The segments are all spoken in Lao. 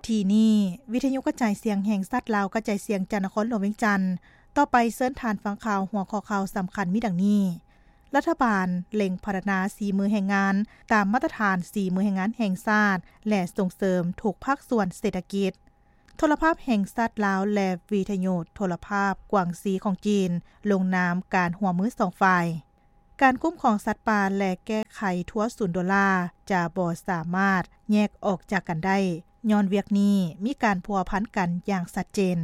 ທີ່ນີ້ ວິທະຍຸກະຈາຍສຽງແຫ່ງຊາດລາວ ກະຈາຍສຽງຈາກນະຄອນຫຼວງວຽງຈັນ. ຕໍ່ໄປເຊີນທ່ານຟັງຂ່າວ ຫົວຂໍ້ຂ່າວສຳຄັນມີດັ່ງນີ້: ລັດຖະບານເລັ່ງພັດທະນາສີມືແຮງງານ ຕາມມາດຕະຖານສີມືແຮງງານແຫ່ງຊາດ ແລະ ສົ່ງເສີມທຸກພາກສ່ວນເສດຖະກິດ. ໂທລະພາບແຫ່ງຊາດລາວ ແລະ ວິທະຍຸໂທລະພາບກວາງຊີຂອງຈີນ ລົງນາມການຮ່ວມມືສອງຝ່າຍ. ການຄຸ້ມຄອງສັດປ່າ ແລະ ແກ້ໄຂທົ່ວສູນໂດລາ ຈະບໍ່ສາມາດແຍກອອກຈາກກັນໄດ້, ຍ້ອນວຽກນີ້ມີການພົວພັນກັນຢ່າງຊັດເຈນ.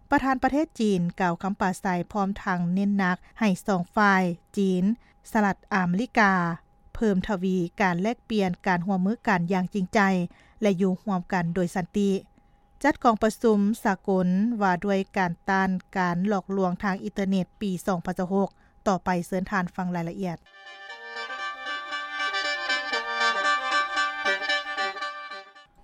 ປະທານປະເທດຈີນກ່າວຄຳປາໄສ ພ້ອມທັງເນັ້ນໜັກໃຫ້ສອງຝ່າຍ ຈີນ, ສະຫະລັດອາເມລິກາ ເພີ່ມທະວີການແລກປ່ຽນການຮ່ວມມືກັນຢ່າງຈິງໃຈ ແລະ ຢູ່ຮ່ວມກັນໂດຍສັນຕິ. ຈັດກອງປະຊຸມສາກົນວ່າດ້ວຍການຕ້ານການຫຼອກລວງທາງອິນເຕີເນັດປີສອງພັນຊາວຫົກ. ຕໍ່ໄປເຊີນທ່ານຟັງລາຍລະອຽດ.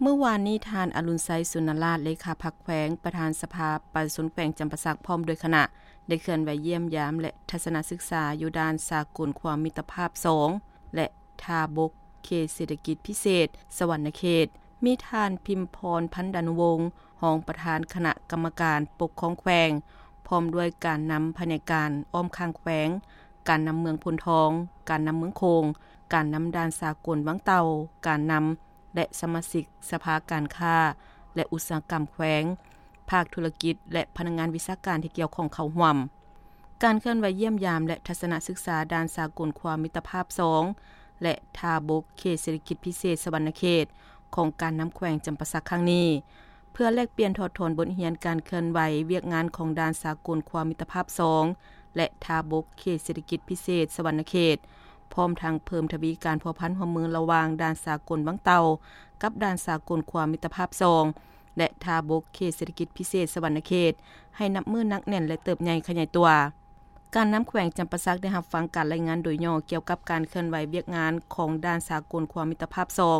ມື້ວານນີ້ ທ່ານ ອະລຸນໄຊ ສຸນນະລາດ ເລຂາພັກແຂວງ, ປະທານສະພາປະຊາຊົນແຂວງຈຳປາສັກ ພ້ອມດ້ວຍຄະນະ ໄດ້ເຄື່ອນໄຫວຢ້ຽມຢາມ ແລະ ທັດສະນະສຶກສາຢູ່ດ່ານສາກົນຄວາມມິດຕະພາບສອງ ແລະ ທ່າບົກ ເຂດເສດຖະກິດພິເສດສະຫວັນນະເຂດ. ມີທ່ານ ພິມພອນ ພັນດານຸວົງ ຮອງປະທານຄະນະກຳມະການປົກຄອງແຂວງ ພ້ອມດ້ວຍການນຳພະແນກການອ້ອມຂ້າງແຂວງ, ການນຳເມືອງໂພນທອງ, ການນຳເມືອງໂຂງ, ການນຳດ່ານສາກົນວັງເຕົ່າ, ການນຳ ແລະ ສະມາຊິກສະພາການຄ້າ ແລະ ອຸດສາຫະກຳແຂວງ, ພາກທຸລະກິດ ແລະ ພະນັກງານວິຊາການທີ່ກ່ຽວຂ້ອງເຂົ້າຮ່ວມ. ການເຄື່ອນໄຫວຢ້ຽມຢາມ ແລະ ທັດສະນະສຶກສາດ່ານສາກົນຄວາມມິດຕະພາບສອງ ແລະ ທ່າບົກເຂດເສດຖະກິດພິເສດສະຫວັນນະເຂດ ຂອງການນຳແຂວງຈຳປາສັກຄັ້ງນີ້ ເພື່ອແລກປ່ຽນຖອດຖອນບົດຮຽນການເຄື່ອນໄຫວວຽກງານຂອງດ່ານສາກົນຄວາມມິດຕະພາບສອງ ແລະ ທ່າບົກເຂດເສດຖະກິດພິເສດສະຫວັນນະເຂດ, ພ້ອມທັງເພີ່ມທະວີການພົວພັນຮ່ວມມືລະຫວ່າງດ່ານສາກົນວັງເຕົ່າ ກັບດ່ານສາກົນຄວາມມິດຕະພາບສອງ ແລະ ທ່າບົກເຂດເສດຖະກິດພິເສດສະຫວັນນະເຂດ ໃຫ້ນັບມື້ໜັກແໜ້ນ ແລະ ເຕີບໃຫຍ່ຂະຫຍາຍຕົວ. ການນຳແຂວງຈຳປາສັກໄດ້ຮັບຟັງການລາຍງານໂດຍຫຍໍ້ກ່ຽວກັບການເຄື່ອນໄຫວວຽກງານຂອງດ່ານສາກົນຄວາມມິດຕະພາບສອງ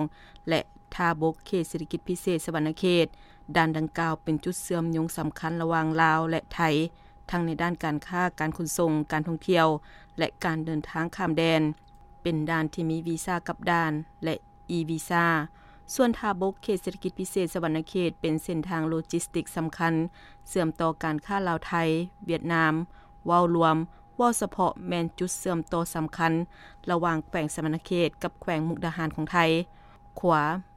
ແລະ ທ່າບົກເຂດເສດຖະກິດພິເສດສະຫວັນນະເຂດ. ດ່ານດັ່ງກ່າວເປັນຈຸດເຊື່ອມໂຍງສຳຄັນລະຫວ່າງລາວ ແລະ ໄທ, ທັງໃນດ້ານການຄ້າ, ການຂົນສົ່ງ, ການທ່ອງທ່ຽວ ແລະ ການເດີນທາງຂ້າມແດນ. ເປັນດ່ານທີ່ມີວີຊາກັບດ່ານ ແລະ ອີ-ວີຊາ. ສ່ວນທ່າບົກເຂດເສດຖະກິດພິເສດສະຫວັນນະເຂດ ເປັນເສັ້ນທາງໂລຈິສຕິກສຳຄັນ ເຊື່ອມຕໍ່ການຄ້າລາວ-ໄທ, ຫວຽດນາມ. ເວົ້າລວມ, ເວົ້າສະເພາະແມ່ນຈຸດເຊື່ອມຕໍ່ສຳຄັນລະຫວ່າງແຂວງສະຫວັນນະເຂດກັບແຂວງມຸກດາຫານຂອງໄທ. ຂົວ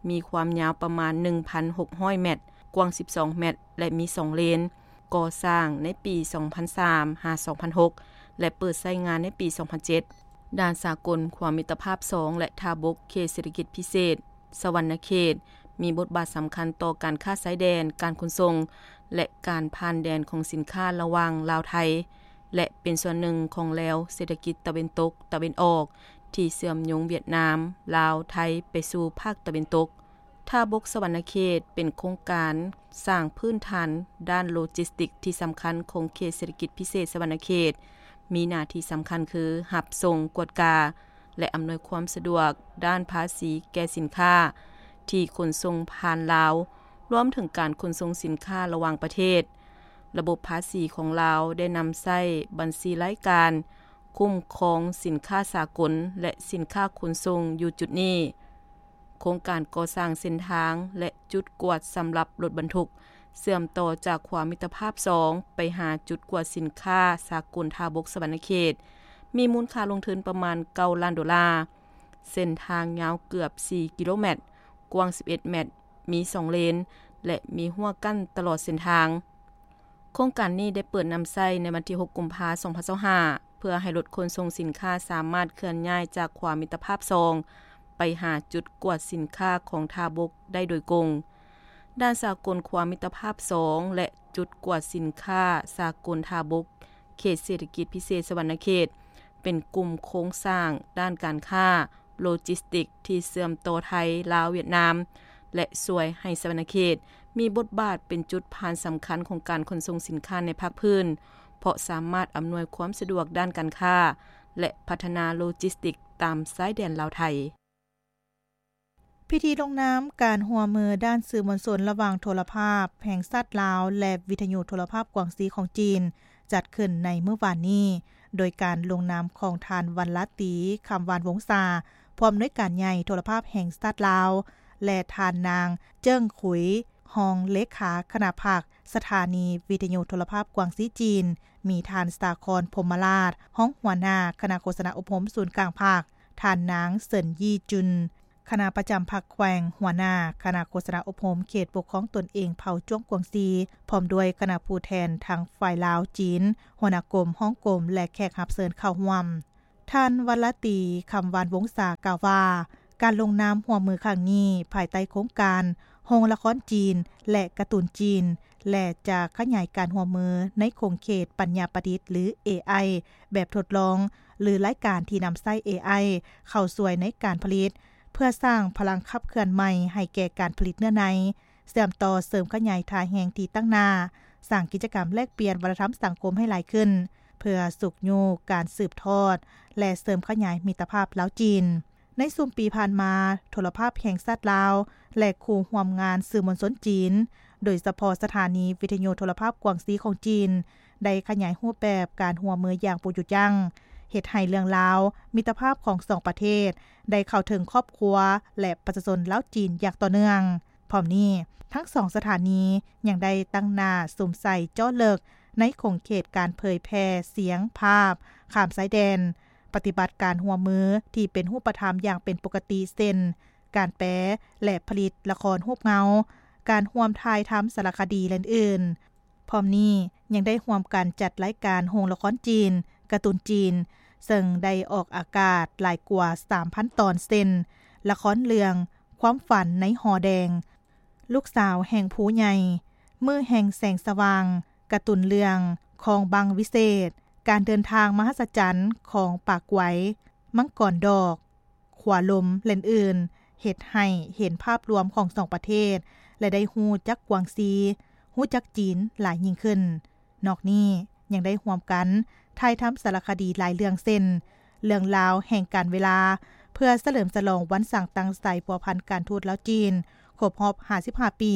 ມີຄວາມຍາວປະມານໜຶ່ງພັນຫົກຮ້ອຍແມັດ, ກວ້າງສິບສອງແມັດ ແລະ ມີສອງເລນ. ກໍ່ສ້າງໃນປີສອງພັນສາມຫາສອງພັນຫົກ ແລະ ເປີດໃຊ້ງານໃນປີສອງພັນເຈັດ. ດ່ານສາກົນຄວາມມິດຕະພາບສອງ ແລະ ທ່າບົກເຂດເສດຖະກິດພິເສດສະຫວັນນະເຂດ ມີບົດບາດສຳຄັນຕໍ່ການຄ້າຊາຍແດນ, ການຂົນສົ່ງ ແລະ ການຜ່ານແດນຂອງສິນຄ້າລະຫວ່າງລາວ-ໄທ ແລະ ເປັນສ່ວນໜຶ່ງຂອງແລວເສດຖະກິດຕາເວັນຕົກ, ຕາເວັນອອກ ທີ່ເຊື່ອມໂຍງຫວຽດນາມ, ລາວ, ໄທ ໄປສູ່ພາກຕາເວັນຕົກ. ທ່າບົກສະຫວັນນະເຂດ ເປັນໂຄງການສ້າງພື້ນຖານດ້ານໂລຈິສຕິກທີ່ສຳຄັນຂອງເຂດເສດຖະກິດພິເສດສະຫວັນນະເຂດ, ມີໜ້າທີ່ສຳຄັນຄື ຮັບສົ່ງ, ກວດກາ ແລະ ອຳນວຍຄວາມສະດວກດ້ານພາສີແກ່ສິນຄ້າທີ່ຂົນສົ່ງຜ່ານລາວ, ລວມເຖິງການຂົນສົ່ງສິນຄ້າລະຫວ່າງປະເທດ. ລະບົບພາສີຂອງລາວໄດ້ນຳໃຊ້ບັນຊີລາຍການຄຸ້ມຄອງສິນຄ້າສາກົນ ແລະ ສິນຄ້າຂົນສົ່ງຢູ່ຈຸດນີ້. ໂຄງການກໍ່ສ້າງເສັ້ນທາງ ແລະ ຈຸດກວດສຳລັບລົດບັນທຸກ ເຊື່ອມຕໍ່ຈາກຂົວມິດຕະພາບສອງ ໄປຫາຈຸດກວດສິນຄ້າສາກົນທ່າບົກສະຫວັນນະເຂດ ມີມູນຄ່າລົງທຶນປະມານເກົ້າລ້ານໂດລາ. ເສັ້ນທາງຍາວເກືອບສີ່ກິໂລແມັດ, ກວ້າງສິບເອັດແມັດ, ມີສອງເລນ ແລະ ມີຮົ້ວກັ້ນຕະຫຼອດເສັ້ນທາງ. ໂຄງການນີ້ໄດ້ເປີດນຳໃຊ້ໃນວັນທີຫົກ ກຸມພາ ສອງພັນຊາວຫ້າ ເພື່ອໃຫ້ລົດຂົນສົ່ງສິນຄ້າສາມາດເຄື່ອນຍ້າຍຈາກຂົວມິດຕະພາບສອງ ໄປຫາຈຸດກວດສິນຄ້າຂອງທ່າບົກໄດ້ໂດຍກົງ. ດ່ານສາກົນຂົວມິດຕະພາບສອງ ແລະ ຈຸດກວດສິນຄ້າສາກົນທ່າບົກ ເຂດເສດຖະກິດພິເສດສະຫວັນນະເຂດ ເປັນກຸ່ມໂຄງສ້າງດ້ານການຄ້າ ໂລຈິສຕິກທີ່ເຊື່ອມຕໍ່ໄທ, ລາວ, ຫວຽດນາມ ແລະ ຊ່ວຍໃຫ້ສະຫວັນນະເຂດມີບົດບາດເປັນຈຸດຜ່ານສຳຄັນຂອງການຂົນສົ່ງສິນຄ້າໃນພາກພື້ນ, ເພາະສາມາດອຳນວຍຄວາມສະດວກດ້ານການຄ້າ ແລະ ພັດທະນາໂລຈິສຕິກຕາມຊາຍແດນລາວ-ໄທ. ພິທີລົງນາມການຮ່ວມມືດ້ານສື່ມວນຊົນລະຫວ່າງໂທລະພາບແຫ່ງຊາດລາວ ແລະ ວິທະຍຸໂທລະພາບກວາງຊີຂອງຈີນ ຈັດຂຶ້ນໃນມື້ວານນີ້ ໂດຍການລົງນາມຂອງທ່ານ ວັນລາຕີ ຄຳຫວານວົງສາ ຜູ້ອຳນວຍການໃຫຍ່ໂທລະພາບແຫ່ງຊາດລາວ ແລະ ທ່ານນາງ ເຈິ້ງ ຂຸຍ ຮອງເລຂາຄະນະພັກ ສະຖານີວິທະຍຸໂທລະພາບກວາງຊີຈີນ, ມີທ່ານ ສາຄອນ ພົມມະລາດ ຮອງຫົວໜ້າຄະນະໂຄສະນາອົບຮົມສູນກາງພັກ, ທ່ານນາງ ເຊິນ ຢີຈຸນ ຄະນະປະຈຳພັກແຂວງ, ຫົວໜ້າຄະນະໂຄສະນາອົບຮົມເຂດປົກຄອງຕົນເອງເຜົ່າຈວງກວາງຊີ, ພ້ອມດ້ວຍຄະນະຜູ້ແທນທັງຝ່າຍລາວ, ຈີນ, ຫົວໜ້າກົມ, ຮອງກົມ ແລະ ແຂກຮັບເຊີນເຂົ້າຮ່ວມ. ທ່ານ ວັນລະຕີ ຄຳວານວົງສາ ກ່າວວ່າ ການລົງນາມຮ່ວມມືຄັ້ງນີ້ ພາຍໃຕ້ໂຄງການໂຮງລະຄອນຈີນ ແລະ ກາຕູນຈີນ ແລະ ຈະຂະຫຍາຍການຮ່ວມມືໃນຂົງເຂດປັນຍາປະດິດ ຫຼື ເອໄອ ແບບທົດລອງ ຫຼື ລາຍການທີ່ນຳໃຊ້ ເອໄອ ເຂົ້າຊ່ວຍໃນການຜະລິດ ເພື່ອສ້າງພະລັງຂັບເຄື່ອນໃໝ່ໃຫ້ແກ່ການຜະລິດເນື້ອໃນ, ເຊື່ອມຕໍ່ເສີມຂະຫຍາຍທ່າແຮງທີ່ຕັ້ງໜ້າ, ສ້າງກິດຈະກຳແລກປ່ຽນວັດທະນະທຳສັງຄົມໃຫ້ຫຼາຍຂຶ້ນ ເພື່ອຊຸກຍູ້ການສືບທອດ ແລະ ເສີມຂະຫຍາຍມິດຕະພາບລາວ-ຈີນ. ໃນຊຸມປີຜ່ານມາ, ໂທລະພາບແຫ່ງຊາດລາວ ແລະ ຄູ່ຮ່ວມງານສື່ມວນຊົນຈີນ, ໂດຍສະເພາະສະຖານີວິທະຍຸໂທລະພາບກວາງຊີຂອງຈີນ, ໄດ້ຂະຫຍາຍຮູບແບບການຮ່ວມມືຢ່າງບໍ່ຢຸດຢັ້ງ, ເຮັດໃຫ້ເລື່ອງລາວມິດຕະພາບຂອງສອງປະເທດ ໄດ້ເຂົ້າເຖິງຄອບຄົວ ແລະ ປະຊາຊົນລາວ-ຈີນຢ່າງຕໍ່ເນື່ອງ. ພ້ອມນີ້, ທັງສອງສະຖານີຍັງໄດ້ຕັ້ງໜ້າສຸມໃສ່ເຈາະເລິກໃນຂົງເຂດການເຜີຍແຜ່ສຽງພາບຂ້າມຊາຍແດນ, ປະຕິບັດການຮ່ວມມືທີ່ເປັນຮູບປະທຳຢ່າງເປັນປົກກະຕິ ເຊັ່ນ ການແປ ແລະ ຜະລິດລະຄອນຮູບເງົາ, ການຮ່ວມຖ່າຍທຳສາລະຄະດີ ແລະ ອື່ນໆ. ພ້ອມນີ້ຍັງໄດ້ຮ່ວມກັນຈັດລາຍການໂຮງລະຄອນຈີນ, ກາຕູນຈີນ, ເຊິ່ງໄດ້ອອກອາກາດຫຼາຍກວ່າສາມພັນຕອນ ເຊັ່ນ ລະຄອນເລື່ອງຄວາມຝັນໃນຫໍແດງ, ລູກສາວແຫ່ງພູໃຫຍ່, ມື້ແຫ່ງແສງສະຫວ່າງ, ກາຕູນເລື່ອງຄອງບັງວິເສດ, ການເດີນທາງມະຫັດສະຈັນຂອງປາກໄວ, ມັງກອນດອກ, ຂົວລົມ ແລະ ອື່ນໆ, ເຮັດໃຫ້ເຫັນພາບລວມຂອງສອງປະເທດ ແລະ ໄດ້ຮູ້ຈັກກວາງຊີ, ຮູ້ຈັກຈີນຫຼາຍຍິ່ງຂຶ້ນ. ນອກນີ້ຍັງໄດ້ຮ່ວມກັນຖ່າຍທຳສາລະຄະດີຫຼາຍເລື່ອງ ເຊັ່ນ ເລື່ອງລາວແຫ່ງການເວລາ ເພື່ອສະເຫຼີມສະຫຼອງວັນສ້າງຕັ້ງສາຍພົວພັນການທູດລາວ-ຈີນ ຄົບຮອບຫ້າສິບຫ້າປີ,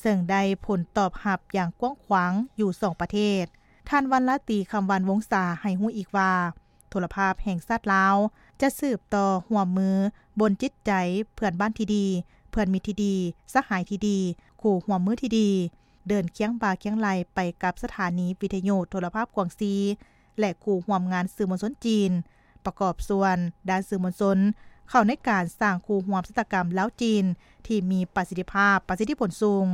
ເຊິ່ງໄດ້ຜົນຕອບຮັບຢ່າງກວ້າງຂວາງຢູ່ສອງປະເທດ. ທ່ານ ວັນລາຕີ ຄຳວານວົງສາ ໃຫ້ຮູ້ອີກວ່າ ໂທລະພາບແຫ່ງຊາດລາວ ຈະສືບຕໍ່ຮ່ວມມືບົນຈິດໃຈເພື່ອນບ້ານທີ່ດີ, ເພື່ອນມິດທີ່ດີ, ສະຫາຍທີ່ດີ, ຄູ່ຮ່ວມມືທີ່ດີ, ເດີນຄຽງບ່າຄຽງໄຫຼ່ໄປກັບສະຖານີວິທະຍຸໂທລະພາບກວາງຊີ ແລະ ຄູ່ຮ່ວມງານສື່ມວນຊົນຈີນ, ປະກອບສ່ວນດ້ານສື່ມວນຊົນ ເຂົ້າໃນການສ້າງຄູ່ຮ່ວມຊະຕາກຳລາວ-ຈີນ ທີ່ມີປະສິດທິພາບ, ປະສິດທິຜົນສູງ.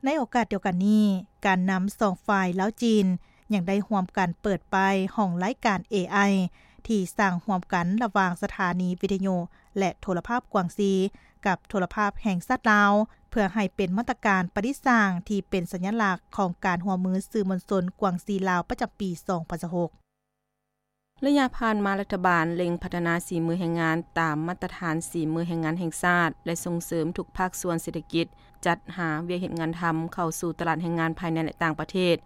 ໃນໂອກາດດຽວກັນນີ້, ການນຳສອງຝ່າຍລາວ-ຈີນ ຍັງໄດ້ຮ່ວມກັນເປີດປ້າຍຫ້ອງລາຍການ ເອໄອ ທີ່ສ້າງຮ່ວມກັນລະຫວ່າງສະຖານີວິທະຍຸ ແລະ ໂທລະພາບກວາງຊີ ກັບໂທລະພາບແຫ່ງຊາດລາວ ເພື່ອໃຫ້ເປັນມາດຕະການປະດິດສ້າງທີ່ເປັນສັນຍະລັກຂອງການຮ່ວມມືສື່ມວນຊົນກວາງຊີ-ລາວ ປະຈຳປີສອງພັນຊາວຫົກ. ໄລຍະຜ່ານມາ, ລັດຖະບານເລັ່ງພັດທະນາສີມືແຮງງານຕາມມາດຕະຖານສີມືແຮງງານແຫ່ງຊາດ ແລະ ສົ່ງເສີມທຸກພາກສ່ວນເສດຖະກິດ ຈັດຫາວຽກເຮັດງານທຳເຂົ້າສູ່ຕະຫຼາດແຮງງານພາຍໃນ ແລະ ຕ່າງປະເທດ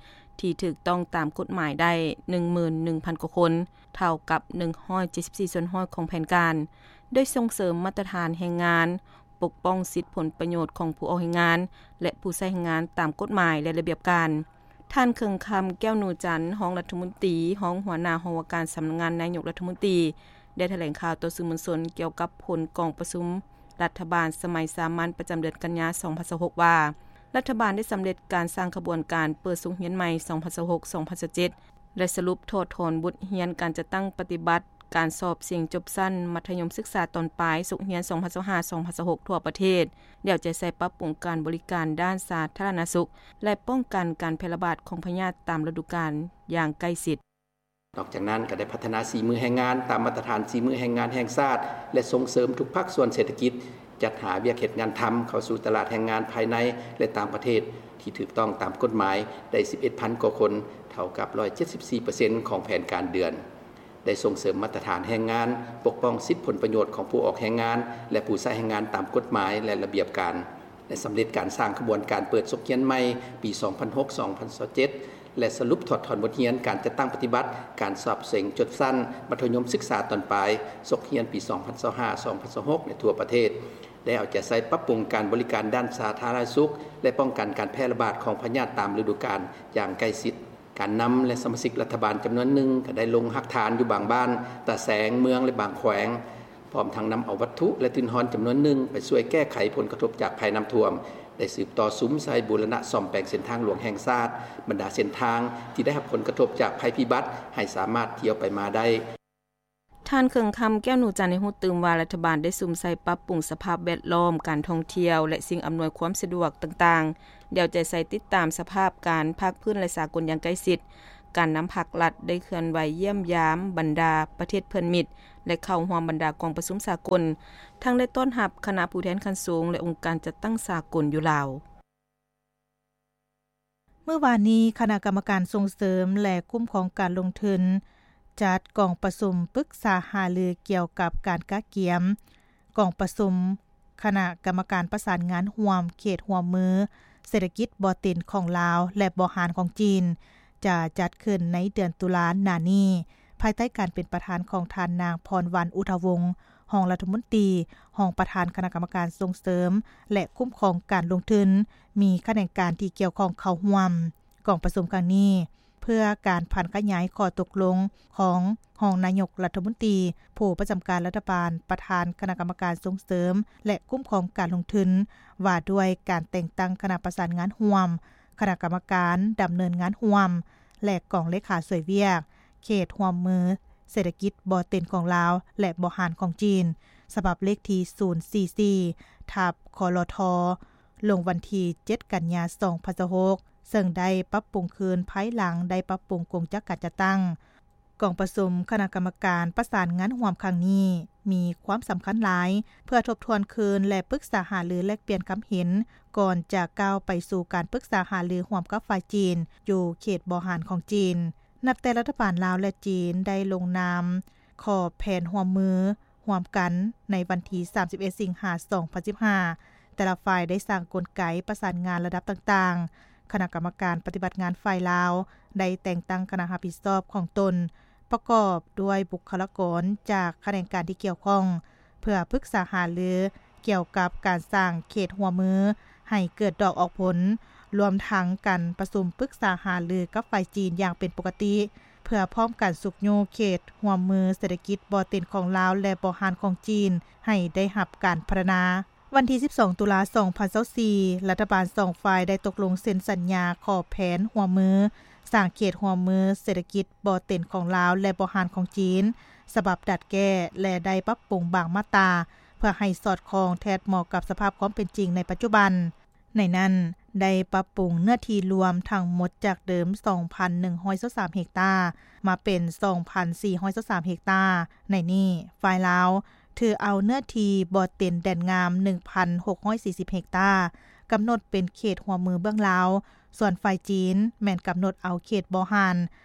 ທີ່ຖືກຕ້ອງຕາມກົດໝາຍໄດ້ ໜຶ່ງໝື່ນໜຶ່ງພັນກວ່າຄົນ, ເທົ່າກັບ ໜຶ່ງຮ້ອຍເຈັດສິບສີ່ສ່ວນຮ້ອຍຂອງແຜນການ, ໂດຍສົ່ງເສີມມາດຕະຖານແຮງງານ, ປົກປ້ອງສິດຜົນປະໂຫຍດຂອງຜູ້ອອກແຮງງານ ແລະ ຜູ້ໃຊ້ແຮງງານຕາມກົດໝາຍ ແລະ ລະບຽບການ. ທ່ານ ເຄິ່ງຄຳ ແກ້ວນູຈັນ, ຮອງລັດຖະມົນຕີ, ຮອງຫົວໜ້າຫ້ອງວ່າການສຳນັກງານນາຍົກລັດຖະມົນຕີ, ໄດ້ຖະແຫຼງຂ່າວຕໍ່ສື່ມວນຊົນກ່ຽວກັບຜົນກອງປະຊຸມລັດຖະບານສະໄໝສາມັນປະຈຳເດືອນກັນຍາ ສອງພັນຊາວຫົກ ວ່າ, ລັດຖະບານໄດ້ສຳເລັດການສ້າງຂະບວນການເປີດສົກຮຽນໃໝ່ ສອງພັນຊາວຫົກ ສອງພັນຊາວເຈັດ ແລະ ສະຫຼຸບຖອດຖອນບົດຮຽນການຈັດຕັ້ງປະຕິບັດການສອບເສັງຈົບຊັ້ນມັດທະຍົມສຶກສາຕອນປາຍສົກຮຽນ ສອງພັນຊາວຫ້າ ສອງພັນຊາວຫົກ ທົ່ວປະເທດ, ແລ້ວຈະໃຊ້ປັບປຸງການບໍລິການດ້ານສາທາລະນະສຸກ ແລະ ປ້ອງກັນການແຜ່ລະບາດຂອງພະຍາດຕາມລະດູການຢ່າງໃກ້ຊິດ. ນອກຈາກນັ້ນ, ກໍໄດ້ພັດທະນາສີມືແຮງງານຕາມມາດຕະຖານສີມືແຮງງານແຫ່ງຊາດ ແລະ ສົ່ງເສີມທຸກພາກສ່ວນເສດຖະກິດ ຈັດຫາວຽກເຮັດງານທຳເຂົ້າສູ່ຕະຫຼາດແຮງງານພາຍໃນ ແລະ ຕ່າງປະເທດ ທີ່ຖືກຕ້ອງຕາມກົດໝາຍໄດ້ ສິບເອັດພັນກວ່າຄົນ, ເທົ່າກັບ ຮ້ອຍເຈັດສິບສີ່ເປີເຊັນຂອງແຜນການເດືອນ. ໄດ້ສົ່ງເສີມມາດຕະຖານແຮງງານ, ປົກປ້ອງສິດຜົນປະໂຫຍດຂອງຜູ້ອອກແຮງງານ ແລະ ຜູ້ໃຊ້ແຮງງານຕາມກົດໝາຍ ແລະ ລະບຽບການ, ໄດ້ສຳເລັດການສ້າງຂະບວນການເປີດສົກຮຽນໃໝ່ປີສອງພັນຫົກ ສອງພັນຊາວເຈັດ ແລະ ສະຫຼຸບຖອດຖອນບົດຮຽນການຈັດຕັ້ງປະຕິບັດການສອບເສັງຈົບຊັ້ນມັດທະຍົມສຶກສາຕອນປາຍສົກຮຽນປີສອງພັນຊາວຫ້າ ສອງພັນຊາວຫົກ ໃນທົ່ວປະເທດ, ໄດ້ເອົາໃຈໃສ່ປັບປຸງການບໍລິການດ້ານສາທາລະນະສຸກ ແລະ ປ້ອງກັນການແຜ່ລະບາດຂອງພະຍາດຕາມລະດູການຢ່າງໃກ້ຊິດ. ການນຳ ແລະ ສະມາຊິກລັດຖະບານຈຳນວນໜຶ່ງກໍໄດ້ລົງຮາກຖານຢູ່ບາງບ້ານ, ຕາແສງ, ເມືອງ ແລະ ບາງແຂວງ, ພ້ອມທັງນຳເອົາວັດຖຸ ແລະ ທຶນຮອນຈຳນວນໜຶ່ງໄປຊ່ວຍແກ້ໄຂຜົນກະທົບຈາກໄພນ້ຳຖ້ວມ ໄດ້ສືບຕໍ່ສຸມໃສ່ບູລະນະສ້ອມແປງເສັ້ນທາງຫຼວງແຫ່ງຊາດ, ບັນດາເສັ້ນທາງທີ່ໄດ້ຮັບຜົນກະທົບຈາກໄພພິບັດ ໃຫ້ສາມາດທ່ຽວໄປມາໄດ້. ທ່ານ ເຄື່ອງຄຳ ແກ້ວໜູຈັນ ໃຫ້ຮູ້ຕື່ມວ່າ ລັດຖະບານໄດ້ສຸມໃສ່ປັບປຸງສະພາບແວດລ້ອມ, ການທ່ອງທ່ຽວ ແລະ ສິ່ງອຳນວຍຄວາມສະດວກຕ່າງໆ, ແລ້ວແຕ່ໃສ່ຕິດຕາມສະພາບການພາກພື້ນ ແລະ ສາກົນຢ່າງໃກ້ຊິດ, ການນຳພັກລັດໄດ້ເຄື່ອນໄຫວຢ້ຽມຢາມບັນດາປະເທດເພື່ອນມິດ ແລະ ເຂົ້າຮ່ວມບັນດາກອງປະຊຸມສາກົນ, ທັງໄດ້ຕ້ອນຮັບຄະນະຜູ້ແທນຂັ້ນສູງ ແລະ ອົງການຈັດຕັ້ງສາກົນຢູ່ລາວ. ມື້ວານນີ້, ຄະນະກຳມະການສົ່ງເສີມ ແລະ ຄຸ້ມຄອງການລົງທຶນ ຈັດກອງປະຊຸມປຶກສາຫາລືກ່ຽວກັບການກະກຽມກອງປະຊຸມຄະນະກຳມະການປະສານງານຮ່ວມເຂດຮ່ວມມືເສດຖະກິດບໍ່ເຕັນຂອງລາວ ແລະ ບໍ່ຮ້ານຂອງຈີນ ຈະຈັດຂຶ້ນໃນເດືອນຕຸລາໜ້ານີ້, ພາຍໃຕ້ການເປັນປະທານຂອງທ່ານນາງ ພອນວັນ ອຸທະວົງ ຮອງລັດຖະມົນຕີ, ຮອງປະທານຄະນະກຳມະການສົ່ງເສີມ ແລະ ຄຸ້ມຄອງການລົງທຶນ, ມີຂະແໜງການທີ່ກ່ຽວຂ້ອງເຂົ້າຮ່ວມ. ກອງປະຊຸມຄັ້ງນີ້ ເພື່ອການຜັນຂະຫຍາຍຂໍ້ຕົກລົງຂອງຮອງນາຍົກລັດຖະມົນຕີ, ຜູ້ປະຈຳການລັດຖະບານ, ປະທານຄະນະກຳມະການສົ່ງເສີມ ແລະ ຄຸ້ມຄອງການລົງທຶນ ວ່າດ້ວຍການແຕ່ງຕັ້ງຄະນະປະສານງານຮ່ວມ, ຄະນະກຳມະການດຳເນີນງານຮ່ວມ ແລະ ກອງເລຂາຊ່ວຍວຽກ ເຂດຮ່ວມມືເສດຖະກິດບໍ່ເຕັນຂອງລາວ ແລະ ບໍ່ຮ້ານຂອງຈີນ ສະບັບເລກທີສູນສີ່ສີ່ ທັບ ຄລທ ລົງວັນທີເຈັດ ກັນຍາ ສອງພັນຊາວຫົກ ເຊິ່ງໄດ້ປັບປຸງຄືນພາຍຫຼັງໄດ້ປັບປຸງກົງຈັກການຈັດຕັ້ງ. ກອງປະຊຸມຄະນະກຳມະການປະສານງານຮ່ວມຄັ້ງນີ້ມີຄວາມສຳຄັນຫຼາຍ ເພື່ອທົບທວນຄືນ ແລະ ປຶກສາຫາລືແລກປ່ຽນຄຳເຫັນ ກ່ອນຈະກ້າວໄປສູ່ການປຶກສາຫາລືຮ່ວມກັບຝ່າຍຈີນ ຢູ່ເຂດບໍ່ຮ້ານຂອງຈີນ. ນັບແຕ່ລັດຖະບານລາວ ແລະ ຈີນ ໄດ້ລົງນາມຂອບແຜນຮ່ວມມືຮ່ວມກັນໃນວັນທີສາມສິບເອັດ ສິງຫາ ສອງພັນສິບຫ້າ ແຕ່ລະຝ່າຍໄດ້ສ້າງກົນໄກປະສານງານລະດັບຕ່າງໆ. ຄະນະກຳມະການປະຕິບັດງານຝ່າຍລາວ ໄດ້ແຕ່ງຕັ້ງຄະນະຮັບຜິດຊອບຂອງຕົນ ປະກອບດ້ວຍບຸກຄະລາກອນຈາກຂະແໜງການທີ່ກ່ຽວຂ້ອງ ເພື່ອປຶກສາຫາລືກ່ຽວກັບການສ້າງເຂດຮ່ວມມືໃຫ້ເກີດດອກອອກຜົນ, ລວມທັງການປະຊຸມປຶກສາຫາລືກັບຝ່າຍຈີນຢ່າງເປັນປົກກະຕິ ເພື່ອພ້ອມກັນຊຸກຍູ້ເຂດຮ່ວມມືເສດຖະກິດບໍ່ເຕັນຂອງລາວ ແລະ ບໍ່ຮ້ານຂອງຈີນ ໃຫ້ໄດ້ຮັບການພັດທະນາ. ວັນທີສິບສອງ ຕຸລາ ສອງພັນຊາວສີ່ ລັດຖະບານສອງຝ່າຍໄດ້ຕົກລົງເຊັນສັນຍາຂອບແຜນຮ່ວມມື ສ້າງເຂດຮ່ວມມືເສດຖະກິດບໍ່ເຕັນຂອງລາວ ແລະ ບໍ່ຮ້ານຂອງຈີນ ສະບັບດັດແກ້ ແລະ ໄດ້ປັບປຸງບາງມາດຕາ ເພື່ອໃຫ້ສອດຄ່ອງແທດເໝາະກັບສະພາບຄວາມເປັນຈິງໃນປັດຈຸບັນ. ໃນນັ້ນໄດ້ປັບປຸງເນື້ອທີ່ລວມທັງໝົດຈາກເດີມ ສອງພັນໜຶ່ງຮ້ອຍຊາວສາມເຮັກຕາ ມາເປັນ ສອງພັນສີ່ຮ້ອຍຊາວສາມເຮັກຕາ. ໃນນີ້ ຝ່າຍລາວຖືເອົາເນື້ອທີ່ບໍ່ເຕັນແດນງາມ ໜຶ່ງພັນຫົກຮ້ອຍສີ່ສິບເຮັກຕາ ກຳນົດເປັນເຂດຮ່ວມມືເບື້ອງລາວ, ສ່ວນຝ່າຍຈີນແມ່ນກຳນົດເອົາເຂດບໍ່ຮ້ານ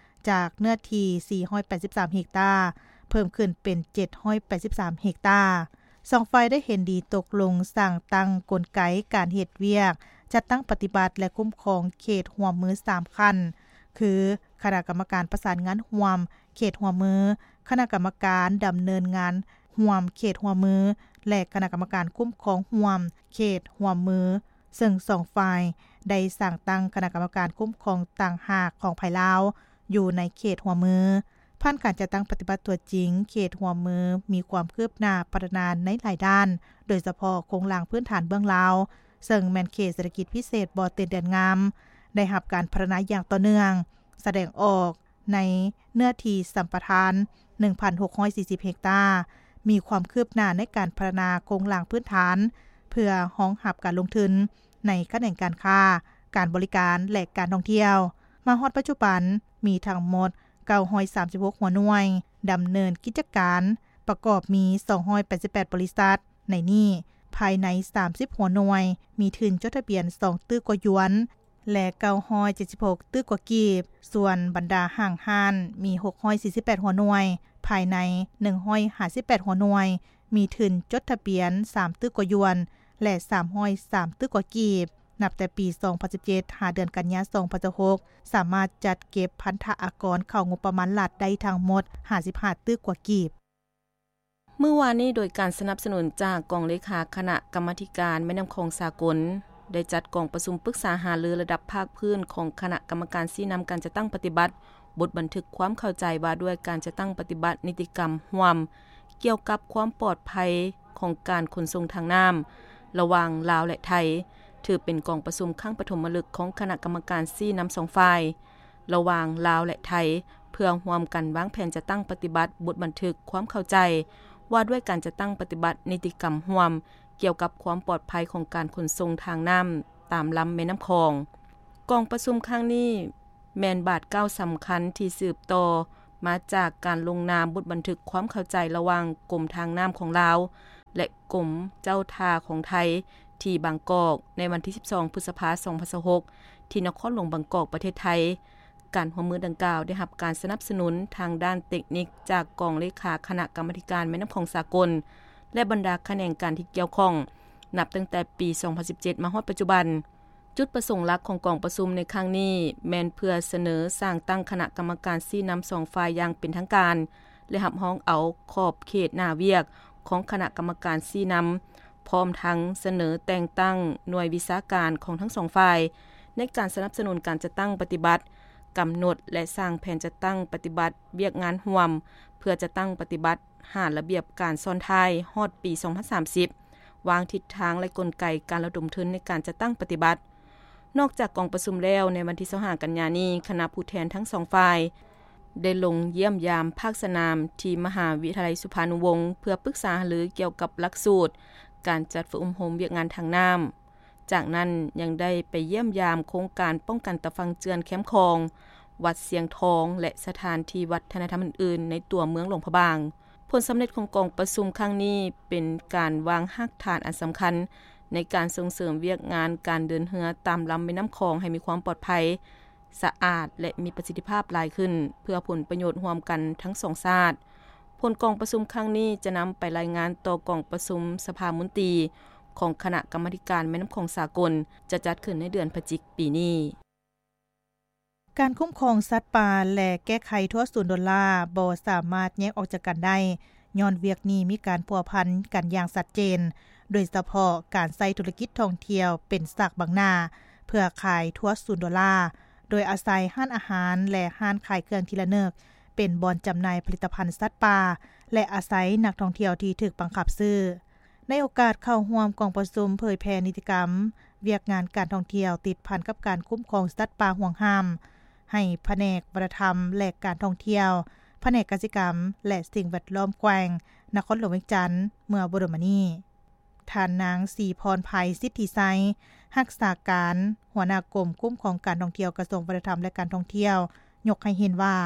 ຈາກເນື້ອທີ່ສີ່ຮ້ອຍແປດສິບສາມເຮັກຕາ ເພີ່ມຂຶ້ນເປັນເຈັດຮ້ອຍແປດສິບສາມເຮັກຕາ. ສອງຝ່າຍໄດ້ເຫັນດີຕົກລົງສ້າງຕັ້ງກົນໄກການເຮັດວຽກ ຈັດຕັ້ງປະຕິບັດ ແລະ ຄຸ້ມຄອງເຂດຮ່ວມມືສາມຂັ້ນ ຄື ຄະນະກຳມະການປະສານງານຮ່ວມເຂດຮ່ວມມື, ຄະນະກຳມະການດຳເນີນງານຮ່ວມເຂດຮ່ວມມື ແລະ ຄະນະກຳມະການຄຸ້ມຄອງຮ່ວມເຂດຮ່ວມມື, ເຊິ່ງສອງຝ່າຍໄດ້ສ້າງຕັ້ງຄະນະກຳມະການຄຸ້ມຄອງຕ່າງຫາກຂອງຝ່າຍລາວ ຢູ່ໃນເຂດຮ່ວມມື. ຜ່ານການຈັດຕັ້ງປະຕິບັດຕົວຈິງ, ເຂດຮ່ວມມືມີຄວາມຄືບໜ້າພັດທະນາໃນຫຼາຍດ້ານ, ໂດຍສະເພາະໂຄງລ່າງພື້ນຖານເບື້ອງລາວ, ເຊິ່ງແມ່ນເຂດເສດຖະກິດພິເສດບໍ່ເຕັນແດນງາມ, ໄດ້ຮັບການພັດທະນາຢ່າງຕໍ່ເນື່ອງ, ສະແດງອອກໃນເນື້ອທີ່ສຳປະທານ ໜຶ່ງພັນຫົກຮ້ອຍສີ່ສິບເຮັກຕາ, ມີຄວາມຄືບໜ້າໃນການພັດທະນາໂຄງລ່າງພື້ນຖານ ເພື່ອຮອງຮັບການລົງທຶນໃນຂະແໜງການຄ້າ, ການບໍລິການ ແລະ ການທ່ອງທ່ຽວ. ມາຮອດປັດຈຸບັນ ມີທັງໝົດເກົ້າຮ້ອຍສາມສິບຫົກຫົວໜ່ວຍດຳເນີນກິດຈະການ, ປະກອບມີສອງຮ້ອຍແປດສິບແປດບໍລິສັດ, ໃນນີ້ ພາຍໃນສາມສິບຫົວໜ່ວຍມີທຶນຈົດທະບຽນສອງຕື້ກວ່າຢວນ ແລະ ເກົ້າຮ້ອຍເຈັດສິບຫົກຕື້ກວ່າກີບ, ສ່ວນບັນດາຫ້າງຮ້ານມີຫົກຮ້ອຍສີ່ສິບແປດຫົວໜ່ວຍ, ພາຍໃນໜຶ່ງຮ້ອຍຫ້າສິບແປດຫົວໜ່ວຍ ມີທຶນຈົດທະບຽນສາມຕື້ກວ່າຢວນ ແລະ ສາມຮ້ອຍສາມຕື້ກວ່າກີບ. ນັບແຕ່ປີສອງພັນສິບເຈັດ ຫາເດືອນກັນຍາ ສອງພັນຊາວຫົກ ສາມາດຈັດເກັບພັນທະອາກອນເຂົ້າງົບປະມານລັດໄດ້ທັງໝົດຫ້າສິບຫ້າຕື້ກວ່າກີບ. ມື້ວານນີ້ ໂດຍການສະໜັບສະໜູນຈາກກອງເລຂາຄະນະກຳມາທິການແມ່ນ້ຳຂອງສາກົນ ໄດ້ຈັດກອງປະຊຸມປຶກສາຫາລືລະດັບພາກພື້ນຂອງຄະນະກຳມະການຊີ້ນຳການຈັດຕັ້ງປະຕິບັດບົດບັນທຶກຄວາມເຂົ້າໃຈວ່າດ້ວຍການຈັດຕັ້ງປະຕິບັດນິຕິກຳຮ່ວມ ກ່ຽວກັບຄວາມປອດໄພຂອງການຂົນສົ່ງທາງນ້ຳລະຫວ່າງລາວ ແລະ ໄທ, ຖືເປັນກອງປະຊຸມຄັ້ງປະຖົມມະລຶກຂອງຄະນະກຳມະການຊີ້ນຳສອງຝ່າຍ ລະຫວ່າງລາວ ແລະ ໄທ ເພື່ອຮ່ວມກັນວາງແຜນຈັດຕັ້ງປະຕິບັດບົດບັນທຶກຄວາມເຂົ້າໃຈວ່າດ້ວຍການຈັດຕັ້ງປະຕິບັດນິຕິກຳຮ່ວມ ກ່ຽວກັບຄວາມປອດໄພຂອງການຂົນສົ່ງທາງນ້ຳຕາມລຳແມ່ນ້ຳຂອງ. ກອງປະຊຸມຄັ້ງນີ້ແມ່ນບາດກ້າວສຳຄັນທີ່ສືບຕໍ່ມາຈາກການລົງນາມບົດບັນທຶກຄວາມເຂົ້າໃຈລະຫວ່າງກົມທາງນ້ຳຂອງລາວ ແລະ ກົມເຈົ້າທ່າຂອງໄທ ທີ່ບາງກອກ ໃນວັນທີສິບສອງ ພຶດສະພາ ສອງພັນຊາວຫົກ ທີ່ນະຄອນຫຼວງບາງກອກ ປະເທດໄທ. ການຮ່ວມມືດັ່ງກ່າວໄດ້ຮັບການສະໜັບສະໜູນທາງດ້ານເຕັກນິກຈາກກອງເລຂາຄະນະກຳມາທິການແມ່ນ້ຳຂອງສາກົນ ແລະ ບັນດາຂະແໜງການທີ່ກ່ຽວຂ້ອງ ນັບຕັ້ງແຕ່ປີສອງພັນສິບເຈັດ ມາຮອດປັດຈຸບັນ. ຈຸດປະສົງຫຼັກຂອງກອງປະຊຸມໃນຄັ້ງນີ້ ແມ່ນເພື່ອສະເໜີສ້າງຕັ້ງຄະນະກຳມະການຊີ້ນຳສອງຝ່າຍຢ່າງເປັນທາງການ ແລະ ຮັບຮອງເອົາຂອບເຂດໜ້າວຽກຂອງຄະນະກຳມະການຊີ້ນຳ ພ້ອມທັງສະເໜີແຕ່ງຕັ້ງໜ່ວຍວິຊາການຂອງທັງສອງຝ່າຍ ໃນການສະໜັບສະໜູນການຈັດຕັ້ງປະຕິບັດ, ກຳນົດ ແລະ ສ້າງແຜນຈັດຕັ້ງປະຕິບັດວຽກງານຮ່ວມ ເພື່ອຈັດຕັ້ງປະຕິບັດ ຫາລະບຽບການຊ້ອນທ້າຍຮອດປີສອງພັນສາມສິບ, ວາງທິດທາງ ແລະ ກົນໄກການລະດົມທຶນໃນການຈັດຕັ້ງປະຕິບັດ. ນອກຈາກກອງປະຊຸມແລ້ວ, ໃນວັນທີຊາວຫ້າ ກັນຍານີ້, ຄະນະຜູ້ແທນທັງສອງຝ່າຍ ໄດ້ລົງຢ້ຽມຢາມພາກສະໜາມທີ່ມະຫາວິທະຍາໄລສຸພານຸວົງ ເພື່ອປຶກສາຫາລືກ່ຽວກັບຫຼັກສູດການຈັດຝຶກອົບຮົມວຽກງານທາງນ້ຳ. ຈາກນັ້ນຍັງໄດ້ໄປຢ້ຽມຢາມໂຄງການປ້ອງກັນຕາຝັ່ງເຈື່ອນແຄມຂອງ, ວັດຊຽງທອງ ແລະ ສະຖານທີ່ວັດທະນະທຳອື່ນໆໃນຕົວເມືອງຫຼວງພະບາງ. ຜົນສຳເລັດຂອງກອງປະຊຸມຄັ້ງນີ້ເປັນການວາງຮາກຖານອັນສຳຄັນໃນການສົ່ງເສີມວຽກງານການເດີນເຮືອຕາມລຳແມ່ນ້ຳຂອງໃຫ້ມີຄວາມປອດໄພ, ສະອາດ ແລະ ມີປະສິດທິພາບຫຼາຍຂຶ້ນ ເພື່ອຜົນປະໂຫຍດຮ່ວມກັນທັງສອງຊາດ. ຜົນກອງປະຊຸມຄັ້ງນີ້ຈະນຳໄປລາຍງານຕໍ່ກອງປະຊຸມສະພາມົນຕີຂອງຄະນະກຳມາທິການແມ່ນ້ຳຂອງສາກົນ ຈະຈັດຂຶ້ນໃນເດືອນພະຈິກປີນີ້. ການຄຸ້ມຄອງສັດປ່າ ແລະ ແກ້ໄຂທົ່ວສູນໂດນລ່າບໍ່ສາມາດແຍກອອກຈາກກັນໄດ້, ຍ້ອນວຽກນີ້ມີການພົວພັນກັນຢ່າງຊັດເຈນ, ໂດຍສະເພາະການໃຊ້ທຸລະກິດທ່ອງທ່ຽວເປັນສາກບັງໜ້າ ເພື່ອຂາຍທົ່ວສູນໂດລາ, ໂດຍອາໄສຮ້ານອາຫານ ແລະ ຮ້ານຂາຍເຄື່ອງທີ່ລະນຶກ ເປັນບ່ອນຈຳໜ່າຍຜະລິດຕະພັນສັດປ່າ ແລະ ອາໄສນັກທ່ອງທ່ຽວທີ່ຖືກບັງຄັບຊື້. ໃນໂອກາດເຂົ້າຮ່ວມກອງປະຊຸມເຜີຍແຜ່ນິຕິກຳວຽກງານການທ່ອງທ່ຽວຕິດພັນກັບການຄຸ້ມຄອງສັດປ່າຫວງຫ້າມ ໃຫ້ພະແນກວັດທະນະທຳ ແລະ ການທ່ອງທ່ຽວ, ພະແນກກະສິກຳ ແລະ ສິ່ງແວດລ້ອມແຂວງນະຄອນຫຼວງວຽງຈັນ ເມື່ອບໍ່ດົນມານີ້, ທ່ານນາງ ສີພອນໄພ ສິດທິໄຊ ຮັກສາການຫົວໜ້າກົມຄຸ້ມຄອງການທ່ອງທ່ຽວ ກະຊວງວັດທະນະທຳ ແລະ ການທ່ອງທ່ຽວ ຍົກໃຫ້ເຫັນວ່າ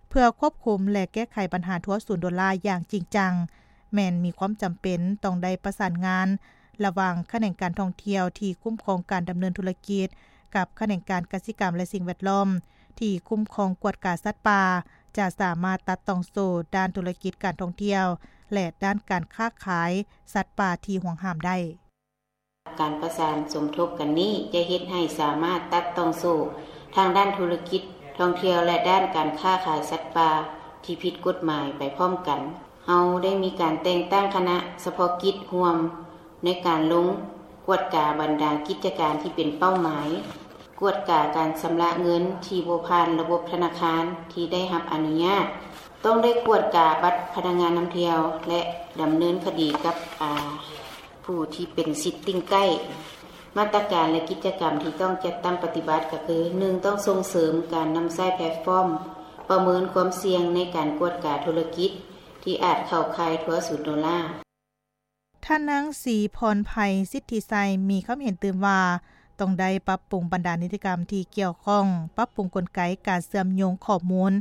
ເພື່ອຄວບຄຸມ ແລະ ແກ້ໄຂບັນຫາທົ່ວສູນໂດລາຢ່າງຈິງຈັງ, ແມ່ນມີຄວາມຈຳເປັນຕ້ອງໄດ້ປະສານງານລະຫວ່າງຂະແໜງການທ່ອງທ່ຽວທີ່ຄຸ້ມຄອງການດຳເນີນທຸລະກິດ ກັບຂະແໜງການກະສິກຳ ແລະ ສິ່ງແວດລ້ອມທີ່ຄຸ້ມຄອງກວດກາສັດປ່າ, ຈະສາມາດຕັດຕ່ອງໂສ້ດ້ານທຸລະກິດການທ່ອງທ່ຽວ ແລະ ດ້ານການຄ້າຂາຍສັດປ່າທີ່ຫວງຫ້າມໄດ້. ການປະສານສົມທົບກັນນີ້ຈະເຮັດໃຫ້ສາມາດຕັດຕ່ອງໂສ້ທາງດ້ານທຸລະກິດທ່ອງທ່ຽວ ແລະ ດ້ານການຄ້າຂາຍສັດປ່າທີ່ຜິດກົດໝາຍໄປພ້ອມກັນ. ເຮົາໄດ້ມີການແຕ່ງຕັ້ງຄະນະສະເພາະກິດຮ່ວມໃນການລົງກວດກາບັນດາກິດຈະການທີ່ເປັນເປົ້າໝາຍ, ກວດກາການຊຳລະເງິນທີ່ບໍ່ຜ່ານລະບົບທະນາຄານທີ່ໄດ້ຮັບອະນຸຍາດ, ຕ້ອງໄດ້ກວດກາບັດພະນັກງານນຳທ່ຽວ ແລະ ດຳເນີນຄະດີກັບ ອາ ຜູ້ທີ່ເປັນສິດຕິງໃກ້. ມາດຕະການ ແລະ ກິດຈະກຳທີ່ຕ້ອງຈັດຕັ້ງປະຕິບັດກໍຄື ໜຶ່ງ ຕ້ອງສົ່ງເສີມການນຳໃຊ້ແພລດຟອມປະເມີນຄວາມສ່ຽງໃນການກວດກາທຸລະກິດທີ່ອາດເຂົ້າຂ່າຍທົ່ວສູນໂດລາ. ທ່ານນາງ ສີພອນໄພ ສິດທິໄຊ ມີຄຳເຫັນຕື່ມວ່າ ຕ້ອງໄດ້ປັບປຸງບັນດານິຕິກຳທີ່ກ່ຽວຂ້ອງ, ປັບປຸງກົນໄກການເຊື່ອມໂຍງຂໍ້ມູນ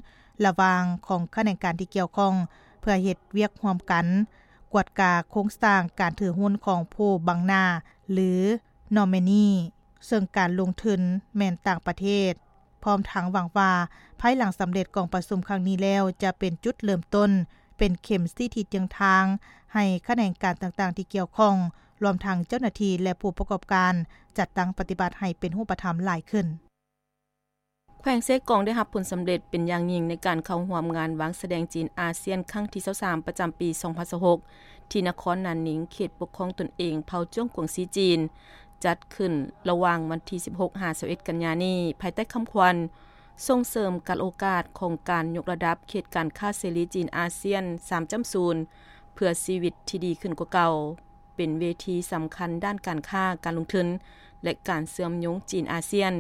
ລະຫວ່າງຂອງຂະແໜງການທີ່ກ່ຽວຂ້ອງ ເພື່ອເຮັດວຽກຮ່ວມກັນ, ກວດກາໂຄງສ້າງການຖືຫຸ້ນຂອງຜູ້ບັງໜ້າ ຫຼື ນອມເມນີ, ເຊິ່ງການລົງທຶນແມ່ນຕ່າງປະເທດ, ພ້ອມທັງຫວັງວ່າ ພາຍຫຼັງສຳເລັດກອງປະຊຸມຄັ້ງນີ້ແລ້ວ ຈະເປັນຈຸດເລີ່ມຕົ້ນ, ເປັນເຂັມຊີ້ທິດທາງທາງໃຫ້ຂະແໜງການຕ່າງໆທີ່ກ່ຽວຂ້ອງ, ລວມທັງເຈົ້າໜ້າທີ່ ແລະ ຜູ້ປະກອບການ ຈັດຕັ້ງປະຕິບັດໃຫ້ເປັນຮູບປະທຳຫຼາຍຂຶ້ນ. ແຂວງເຊກອງໄດ້ຮັບຜົນສຳເລັດເປັນຢ່າງຍິ່ງໃນການເຂົ້າຮ່ວມງານວາງສະແດງຈີນອາຊຽນຄັ້ງທີຊາວສາມ ປະຈຳປີສອງພັນຊາວຫົກ ທີ່ນະຄອນນານນິງ ເຂດປົກຄອງຕົນເອງເຜົ່າຈວງກວງຊີຈີນ, ຈັດຂຶ້ນລະຫວ່າງວັນທີສິບຫົກ ຫາ ຊາວເອັດ ກັນຍານີ້ ພາຍໃຕ້ຄຳຂວັນ ສົ່ງເສີມການໂອກາດຂອງການຍົກລະດັບເຂດການຄ້າເສລີຈີນອາຊຽນ ສາມຈຸດສູນ ເພື່ອຊີວິດທີ່ດີຂຶ້ນກວ່າເກົ່າ. ເປັນເວທີສຳຄັນດ້ານການຄ້າ, ການລົງທຶນ, ແລະ ການເຊື່ອມໂຍງຈີນ-ອາຊຽນ,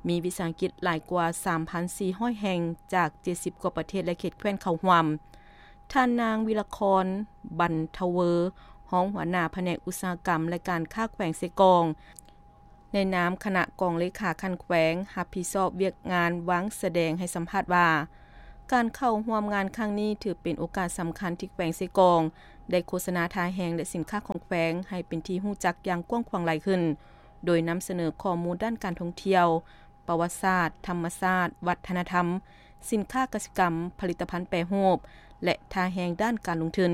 ມີວິສາຫະກິດຫຼາຍກວ່າ ສາມພັນສີ່ຮ້ອຍແຫ່ງ ຈາກ ເຈັດສິບກວ່າປະເທດ ແລະ ເຂດແຄວ້ນເຂົ້າຮ່ວມ. ທ່ານນາງ ວິລະຄອນ ບັນທະເວີ ຮອງຫົວໜ້າພະແນກອຸດສາຫະກຳ ແລະ ການຄ້າແຂວງເຊກອງ ໃນນາມຄະນະກອງເລຂາຂັ້ນແຂວງ ຮັບຜິດຊອບວຽກງານວາງສະແດງ ໃຫ້ສຳພາດວ່າ ການເຂົ້າຮ່ວມງານຄັ້ງນີ້ ຖືເປັນໂອກາດສຳຄັນທີ່ແຂວງເຊກອງ ໄດ້ໂຄສະນາທ່າແຮງ ແລະ ສິນຄ້າຂອງແຂວງ ໃຫ້ເປັນທີ່ຮູ້ຈັກຢ່າງກວ້າງຂວາງຫຼາຍຂຶ້ນ, ໂດຍນຳສະເໜີຂໍ້ມູນດ້ານການທ່ອງທ່ຽວ, ປະຫວັດສາດ, ທຳມະຊາດ, ວັດທະນະທຳ, ສິນຄ້າກະສິກຳ, ຜະລິດຕະພັນແປຮູບ ແລະ ທ່າແຮງດ້ານການລົງທຶນ.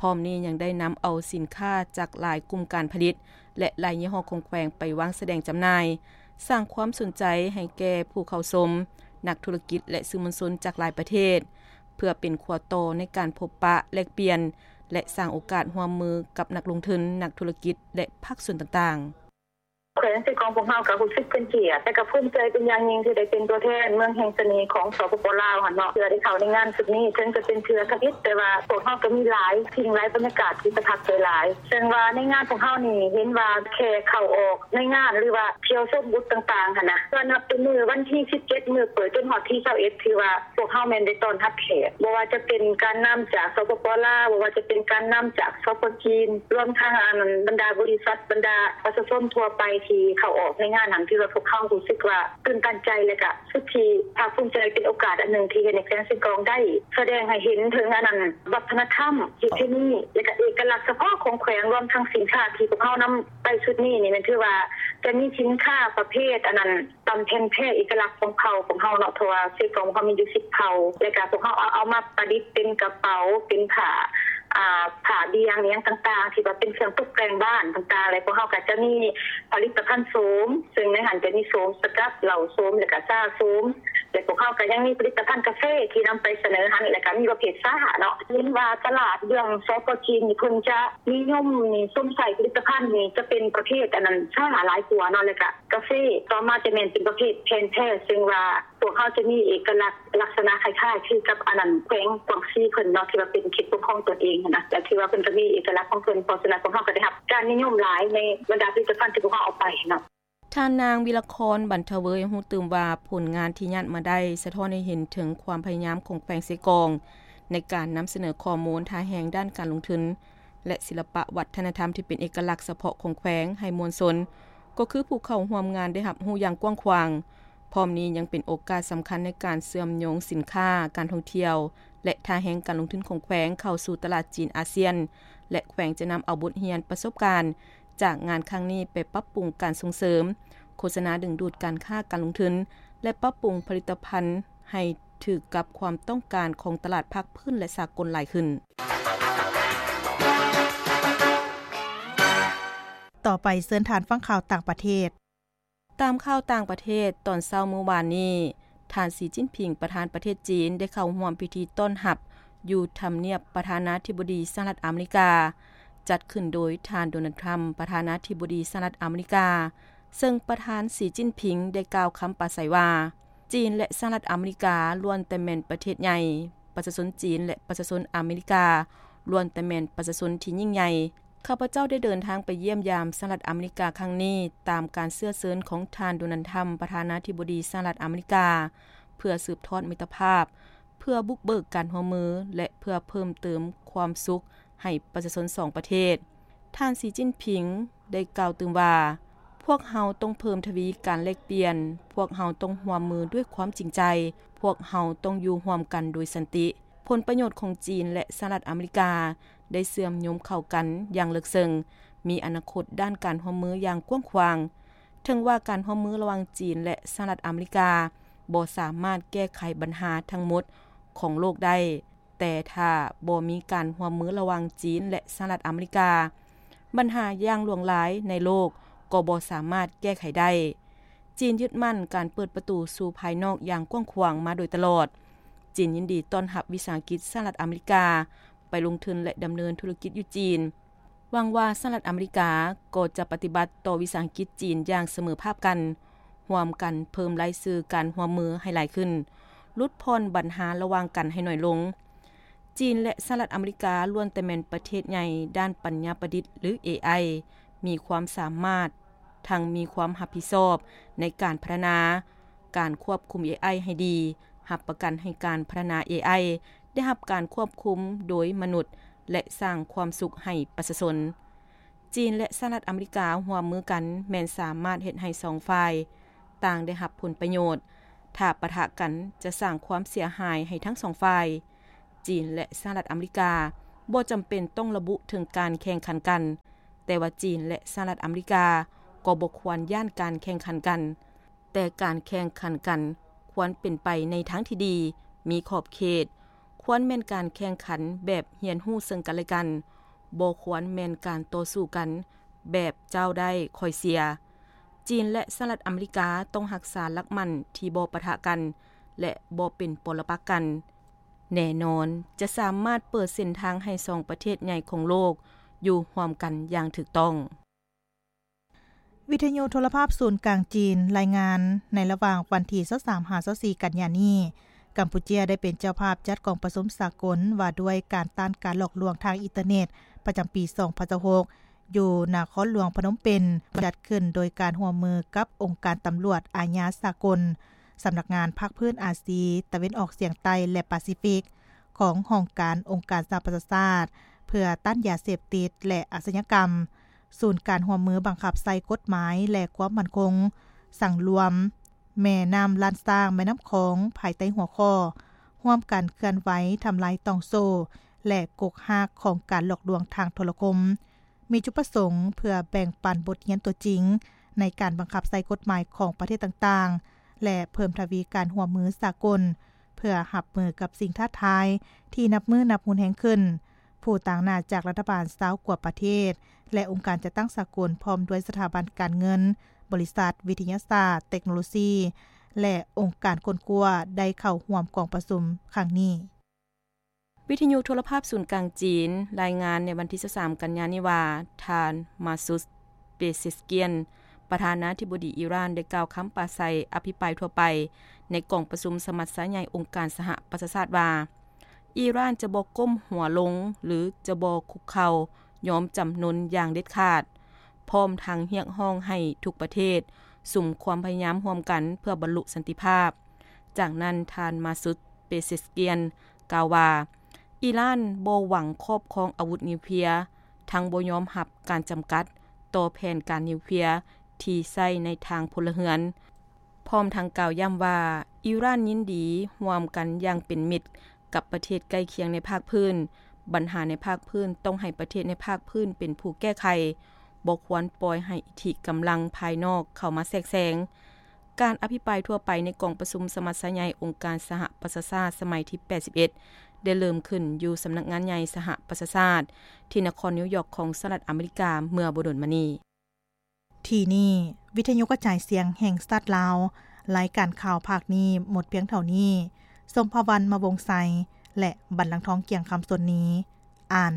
ພ້ອມນີ້ຍັງໄດ້ນຳເອົາສິນຄ້າຈາກຫຼາຍກຸ່ມການຜະລິດ ແລະ ຫຼາຍຍີ່ຫໍ້ຂອງແຂວງໄປວາງສະແດງຈຳໜ່າຍ, ສ້າງຄວາມສົນໃຈໃຫ້ແກ່ຜູ້ເຂົ້າຊົມ, ນັກທຸລະກິດ ແລະ ສື່ມວນຊົນຈາກຫຼາຍປະເທດ, ເພື່ອເປັນຂົວຕໍ່ໃນການພົບປະແລກປ່ຽນ ແລະ ສ້າງໂອກາດຮ່ວມມືກັບນັກລົງທຶນ, ນັກທຸລະກິດ ແລະ ພາກສ່ວນຕ່າງໆ. ແຂວງເຊກອງພວກເຮົາກໍຮູ້ສຶກເປັນກຽດ ແລະກໍພູມໃຈເປັນຢ່າງຍິ່ງທີ່ໄດ້ເປັນຕົວແທນເມືອງແຫ່ງສະເໜ່ຂອງ ສປປ ລາວຫັ້ນເນາະ ເທື່ອໄດ້ເຂົ້າໃນງານຊຸດນີ້ ເຖິງຈະເປັນເທື່ອທຳອິດ ແຕ່ວ່າພວກເຮົາກໍມີຫຼາຍສິ່ງຫຼາຍບັນຍາກາດທີ່ປະທັບໃຈຫຼາຍ ເຊິ່ງວ່າໃນງານພວກເຮົານີ້ເຫັນວ່າແຄ່ເຂົ້າອອກໃນງານ ຫຼືວ່າທ່ຽວຊົມບູດຕ່າງໆຫັ້ນນະ ກໍນັບແຕ່ມື້ວັນທີສິບເຈັດ ມື້ເປີດ ຈົນຮອດທີຊາວເອັດ ຖືວ່າ ພວກເຮົາແມ່ນໄດ້ຕ້ອນຮັບແຂກ ບໍ່ວ່າຈະເປັນການນຳຈາກ ສປປ ລາວ, ບໍ່ວ່າຈະເປັນການນຳຈາກ ສປ ຈີນ, ລວມທັງ ອັນ ບັນດາບໍລິສັດ, ບັນດາປະຊາຊົນທົ່ວໄປທີ່ເຂົ້າອອກໃນງານນັ້ນ ຖືວ່າພວກເຮົາຮູ້ສຶກວ່າຕື່ນຕັນໃຈ ແລະກະສຸດທີ່ພາກພູມໃຈ. ເປັນໂອກາດອັນໜຶ່ງທີ່ເຮັດໃຫ້ແຂວງເຊກອງໄດ້ສະແດງໃຫ້ເຫັນເຖິງ ອັນນັ້ນ ວັດທະນະທຳ ປະເພນີ ແລະກະເອກະລັກສະເພາະຂອງແຂວງ ລວມທັງສິນຄ້າທີ່ພວກເຮົານຳໄປຊຸດນີ້ນີ້ ແມ່ນຖືວ່າຈະມີສິນຄ້າປະເພດ ອັນນັ້ນ ຕຳແຜ່ນແພເອກະລັກຂອງເຜົ່າຂອງເຮົາເນາະ ເພາະວ່າເຊກອງເຮົາມີຢູ່ສິບເຜົ່າ ແລະກະພວກເຮົາເອົາ ເອົາມາປະດິດເປັນກະເປົາ ເປັນຜ້າ ອ່າ ຜ້າບ່ຽງ ອີ່ຫຍັງຕ່າງໆ ທີ່ວ່າເປັນເຄື່ອງຕົກແຕ່ງບ້ານຕ່າງໆ ແລະພວກເຮົາກະຈະມີຜະລິດຕະພັນໂສມ ເຊິ່ງໃນຫັ້ນຈະມີໂສມສະກັດ ເຫຼົ້າໂສມ ແລະກະຊາໂສມ ແລະພວກເຮົາກະຍັງມີຜະລິດຕະພັນກາເຟທີ່ນຳໄປສະເໜີຫັ້ນ ແລະກະມີປະເພດຊາເນາະ. ເຫັນວ່າຕະຫຼາດເລື່ອງ ສປ ຈີນ ນີ້ເພິ່ນຈະນິຍົມນິຊົມໃຊ້ຜະລິດຕະພັນນີ້ ຈະເປັນປະເພດ ອັນນັ້ນ ຊາຫຼາຍກວ່າເນາະ ແລະກະ ກາເຟ ຕໍ່ມາຈະແມ່ນເປັນປະເພດແຜ່ນແພ ເຊິ່ງວ່າພວກເຮົາຈະມີເອກະລັກລັກສະນະຄ້າຍໆຄືກັບ ອັນນັ້ນ ແຂວງກວາງຊີເພິ່ນເນາະ ທີ່ວ່າເປັນເຂດປົກຄອງຕົນເອງຫັ້ນນະ ແລະຖືວ່າເພິ່ນກໍມີເອກະລັກຂອງເພິ່ນ ເພາະສະນັ້ນພວກເຮົາກໍໄດ້ຮັບການນິຍົມຫຼາຍໃນບັນດາຜະລິດຕະພັນທີ່ພວກເຮົາເອົາໄປເນາະ. ທ່ານນາງ ວິລະຄອນ ບັນທະເວີ ຍັງຮູ້ຕື່ມວ່າ ຜົນງານທີ່ຍາດມາໄດ້ ສະທ້ອນໃຫ້ເຫັນເຖິງຄວາມພະຍາຍາມຂອງແຂວງເຊກອງ ໃນການນຳສະເໜີຂໍ້ມູນທ່າແຮງດ້ານການລົງທຶນ ແລະ ສິລະປະວັດທະນະທຳທີ່ເປັນເອກະລັກສະເພາະຂອງແຂວງໃຫ້ມວນຊົນ ກໍຄືຜູ້ເຂົ້າຮ່ວມງານໄດ້ຮັບຮູ້ຢ່າງກວ້າງຂວາງ. ພ້ອມນີ້ຍັງເປັນໂອກາດສຳຄັນໃນການເຊື່ອມໂຍງສິນຄ້າ, ການທ່ອງທ່ຽວ ແລະ ທ່າແຮງການລົງທຶນຂອງແຂວງເຂົ້າສູ່ຕະຫຼາດຈີນອາຊຽນ ແລະ ແຂວງຈະນຳເອົາບົດຮຽນປະສົບການຈາກງານຄັ້ງນີ້ໄປປັບປຸງການສົ່ງເສີມ, ໂຄສະນາດຶງດູດການຄ້າການລົງທຶນ ແລະ ປັບປຸງຜະລິດຕະພັນໃຫ້ຖືກກັບຄວາມຕ້ອງການຂອງຕະຫຼາດພາກພື້ນ ແລະ ສາກົນຫຼາຍຂຶ້ນ. ຕໍ່ໄປເຊີນທ່ານຟັງຂ່າວຕ່າງປະເທດ. ຕາມຂ່າວຕ່າງປະເທດ, ຕອນເຊົ້າມື້ວານນີ້, ທ່ານ ສີ ຈິ້ນຜິງ ປະທານປະເທດຈີນ ໄດ້ເຂົ້າຮ່ວມພິທີຕ້ອນຮັບຢູ່ທຳນຽບປະທານາທິບໍດີສະຫະລັດອາເມລິກາ, ຈັດຂຶ້ນໂດຍທ່ານ ໂດນັລ ທຣຳ ປະທານາທິບໍດີສະຫະລັດອາເມລິກາ, ເຊິ່ງປະທານ ສີ ຈິ້ນຜິງ ໄດ້ກ່າວຄຳປາໄສວ່າ, ຈີນ ແລະ ສະຫະລັດອາເມລິກາ ລ້ວນແຕ່ແມ່ນປະເທດໃຫຍ່, ປະຊາຊົນຈີນ ແລະ ປະຊາຊົນອາເມລິກາ ລ້ວນແຕ່ແມ່ນປະຊາຊົນທີ່ຍິ່ງໃຫຍ່. ຂ້າພະເຈົ້າໄດ້ເດີນທາງໄປຢ້ຽມຢາມສະຫະລັດອາເມລິກາຄັ້ງນີ້ ຕາມການເຊື້ອເຊີນຂອງທ່ານ ໂດນັລ ທຣຳ ປະທານາທິບໍດີສະຫະລັດອາເມລິກາ ເພື່ອສືບທອດມິດຕະພາບ, ເພື່ອບຸກເບີກການຮ່ວມມື ແລະ ເພື່ອເພີ່ມເຕີມຄວາມສຸກໃຫ້ປະຊາຊົນສອງປະເທດ. ທ່ານ ສີ ຈິ້ນຜິງ ໄດ້ກ່າວຕື່ມວ່າ, ພວກເຮົາຕ້ອງເພີ່ມທະວີການແລກປ່ຽນ, ພວກເຮົາຕ້ອງຮ່ວມມືດ້ວຍຄວາມຈິງໃຈ, ພວກເຮົາຕ້ອງຢູ່ຮ່ວມກັນໂດຍສັນຕິ. ຜົນປະໂຫຍດຂອງຈີນ ແລະ ສະຫະລັດອາເມລິກາ ໄດ້ເຊື່ອມໂຍງເຂົ້າກັນຢ່າງເລິກເຊິ່ງ, ມີອະນາຄົດດ້ານການຮ່ວມມືຢ່າງກວ້າງຂວາງ. ເຖິງວ່າການຮ່ວມມືລະຫວ່າງຈີນ ແລະ ສະຫະລັດອາເມລິກາ ບໍ່ສາມາດແກ້ໄຂບັນຫາທັງໝົດຂອງໂລກໄດ້, ແຕ່ຖ້າບໍ່ມີການຮ່ວມມືລະຫວ່າງຈີນ ແລະ ສະຫະລັດອາເມລິກາ, ບັນຫາຢ່າງຫຼວງຫຼາຍໃນໂລກກໍບໍ່ສາມາດແກ້ໄຂໄດ້. ຈີນຍຶດໝັ້ນການເປີດປະຕູສູ່ພາຍນອກຢ່າງກວ້າງຂວາງມາໂດຍຕະຫຼອດ. ຈີນຍິນດີຕ້ອນຮັບວິສາຫະກິດສະຫະລັດອາເມລິກາ ໄປລົງທຶນ ແລະ ດຳເນີນທຸລະກິດຢູ່ຈີນ. ຫວັງວ່າສະຫະລັດອາເມລິກາກໍຈະປະຕິບັດຕໍ່ວິສາຫະກິດຈີນຢ່າງສະເໝີພາບກັນ, ຮ່ວມກັນເພີ່ມລາຍຊື່ການຮ່ວມມືໃຫ້ຫຼາຍຂຶ້ນ, ຫຼຸດຜ່ອນບັນຫາລະຫວ່າງກັນໃຫ້ໜ້ອຍລົງ. ຈີນ ແລະ ສະຫະລັດອາເມລິກາ ລ້ວນແຕ່ແມ່ນປະເທດໃຫຍ່ດ້ານປັນຍາປະດິດ ຫຼື ເອໄອ, ມີຄວາມສາມາດ ທັງມີຄວາມຮັບຜິດຊອບໃນການພັດທະນາ, ການຄວບຄຸມ ເອໄອ ໃຫ້ດີ, ຮັບປະກັນໃຫ້ການພັດທະນາ ເອໄອ ໄດ້ຮັບການຄວບຄຸມໂດຍມະນຸດ ແລະ ສ້າງຄວາມສຸກໃຫ້ປະຊາຊົນ. ຈີນ ແລະ ສະຫະລັດອາເມລິກາຮ່ວມມືກັນ ແມ່ນສາມາດເຮັດໃຫ້ສອງຝ່າຍຕ່າງໄດ້ຮັບຜົນປະໂຫຍດ. ຖ້າປະທະກັນຈະສ້າງຄວາມເສຍຫາຍໃຫ້ທັງສອງຝ່າຍ. ຈີນ ແລະ ສະຫະລັດອາເມລິກາບໍ່ຈຳເປັນຕ້ອງລະບຸເຖິງການແຂ່ງຂັນກັນ, ແຕ່ວ່າຈີນ ແລະ ສະຫະລັດອາເມລິກາກໍບໍ່ຄວນຢ້ານການແຂ່ງຂັນກັນ, ແຕ່ການແຂ່ງຂັນກັນຄວນເປັນໄປໃນທາງທີ່ດີ, ມີຂອບເຂດ, ຄວນແມ່ນການແຂ່ງຂັນແບບຮຽນຮູ້ເຊິ່ງກັນແລະກັນ, ບໍ່ຄວນແມ່ນການຕໍ່ສູ້ກັນແບບເຈົ້າໄດ້ຂ້ອຍເສຍ. ຈີນ ແລະ ສະຫະລັດອາເມລິກາຕ້ອງຮັກສາຫຼັກໝັ້ນທີ່ບໍ່ປະທະກັນ ແລະ ບໍ່ເປັນປໍລະປັກກັນ. ແນ່ນອນຈະສາມາດເປີດເສັ້ນທາງໃຫ້ສອງປະເທດໃຫຍ່ຂອງໂລກຢູ່ຮ່ວມກັນຢ່າງຖືກຕ້ອງ. ວິທະຍຸໂທລະພາບສູນກາງຈີນລາຍງານ, ໃນລະຫວ່າງວັນທີຊາວສາມຫາຊາວສີ່ກັນຍານີ້, ກຳປູເຈຍໄດ້ເປັນເຈົ້າພາບຈັດກອງປະຊຸມສາກົນວ່າດ້ວຍການຕ້ານການຫຼອກລວງທາງອິນເຕີເນັດ ປະຈຳປີສອງພັນຊາວຫົກ ຢູ່ນະຄອນຫຼວງພະນົມເປັນ, ຈັດຂຶ້ນໂດຍການຮ່ວມມືກັບອົງການຕຳຫຼວດອາຍາສາກົນ, ສຳນັກງານພາກພື້ນອາຊີຕາເວັນອອກສຽງໃຕ້ ແລະ ປາຊີຟິກ ຂອງຫ້ອງການອົງການສະຫະປະຊາຊາດ ເພື່ອຕ້ານຢາເສບຕິດ ແລະ ອາຊະຍາກຳ, ສູນການຮ່ວມມືບັງຄັບໃຊ້ກົດໝາຍ ແລະ ຄວາມໝັ້ນຄົງສັງລວມ ແມ່ນ້ຳລ້ານຊ້າງ, ແມ່ນ້ຳຂອງ ພາຍໃຕ້ຫົວຂໍ້ ຮ່ວມກັນເຄື່ອນໄຫວທຳລາຍຕ່ອງໂສ້ ແລະ ກົກຮາກຂອງການຫຼອກລວງທາງໂທລະຄົມ, ມີຈຸດປະສົງເພື່ອແບ່ງປັນບົດຮຽນຕົວຈິງໃນການບັງຄັບໃຊ້ກົດໝາຍຂອງປະເທດຕ່າງໆ ແລະ ເພີ່ມທະວີການຮ່ວມມືສາກົນ ເພື່ອຮັບມືກັບສິ່ງທ້າທາຍທີ່ນັບມື້ນັບຮຸນແຮງຂຶ້ນ. ຜູ້ຕາງໜ້າຈາກລັດຖະບານຊາວກວ່າປະເທດ ແລະ ອົງການຈັດຕັ້ງສາກົນ ພ້ອມດ້ວຍສະຖາບັນການເງິນ, ບໍລິສັດ, ວິທະຍາສາດ, ເຕັກໂນໂລຊີ ແລະ ອົງການຄົ້ນຄວ້າ ໄດ້ເຂົ້າຮ່ວມກອງປະຊຸມຄັ້ງນີ້. ວິທະຍຸໂທລະພາບສູນກາງຈີນລາຍງານໃນວັນທີຊາວສາມກັນຍານີ້ວ່າ, ທ່ານ ມາຊູດ ເປເຊສກຽນ ປະທານາທິບໍດີອີຣານ ໄດ້ກ່າວຄຳປາໄສອະພິປາຍທົ່ວໄປໃນກອງປະຊຸມສະມັດຊາໃຫຍ່ອົງການສະຫະປະຊາຊາດວ່າ, ອີຣານຈະບໍ່ກົ້ມຫົວລົງ ຫຼື ຈະບໍ່ຄຸກເຂົ່າຍອມຈຳນົນຢ່າງເດັດຂາດ, ພ້ອມທັງຮຽກຮ້ອງໃຫ້ທຸກປະເທດສຸມຄວາມພະຍາຍາມຮ່ວມກັນເພື່ອບັນລຸສັນຕິພາບ. ຈາກນັ້ນ ທ່ານ ມາຊູດ ເປເຊສກຽນ ກ່າວວ່າ, ອີຣານບໍ່ຫວັງຄອບຄອງອາວຸດນິວເຄລຍ, ທັງບໍ່ຍອມຮັບການຈຳກັດຕໍ່ແຜນການນິວເຄລຍທີ່ໃຊ້ໃນທາງພົນລະເຮືອນ, ພ້ອມທັງກ່າວຢ້ຳວ່າ ອີຣານຍິນດີຮ່ວມກັນຢ່າງເປັນມິດກັບປະເທດໃກ້ຄຽງໃນພາກພື້ນ. ບັນຫາໃນພາກພື້ນຕ້ອງໃຫ້ປະເທດໃນພາກພື້ນເປັນຜູ້ແກ້ໄຂ, ບໍ່ຄວນປ່ອຍໃຫ້ອິດທິກຳລັງພາຍນອກເຂົ້າມາແຊກແຊງ. ການອະພິປາຍທົ່ວໄປໃນກອງປະຊຸມສະມັດຊາໃຫຍ່ອົງການສະຫະປະຊາຊາດສະໄໝທີແປດສິບເອັດ ໄດ້ເລີ່ມຂຶ້ນຢູ່ສຳນັກງານໃຫຍ່ສະຫະປະຊາຊາດ ທີ່ນະຄອນນິວຢອກຂອງສະຫະລັດອາເມລິກາເມື່ອບໍ່ດົນມານີ້. ທີ່ນີ້ ວິທະຍຸກະຈາຍສຽງແຫ່ງຊາດລາວ, ລາຍການຂ່າວພາກນີ້ໝົດພຽງເທົ່ານີ້. ສົມພາວັນ ມະວົງໄຊ ແລະ ບັນລັງທອງ ກຽງຄຳສົນນີ ອ່ານ.